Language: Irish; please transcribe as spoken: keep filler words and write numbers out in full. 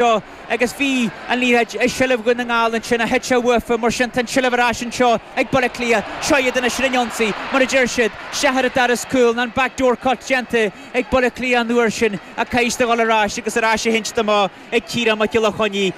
Seo agus bhí an liathróid i seilbh Dhún na nGall ansin ach thit sé uafa, mar sin tá an tseilbh ar ais anseo ag Baile Átha Cliath. Seo iad anois ar an ionsaí, mar a deir siad, isteach ar an doras cúl, an backdoor cut déanta ag Baile Átha Cliath an uair sin ach caithfidh siad a dhul ar ais agus ar ais a shínte amach ag Ciarán Mac Giolla Chainnigh.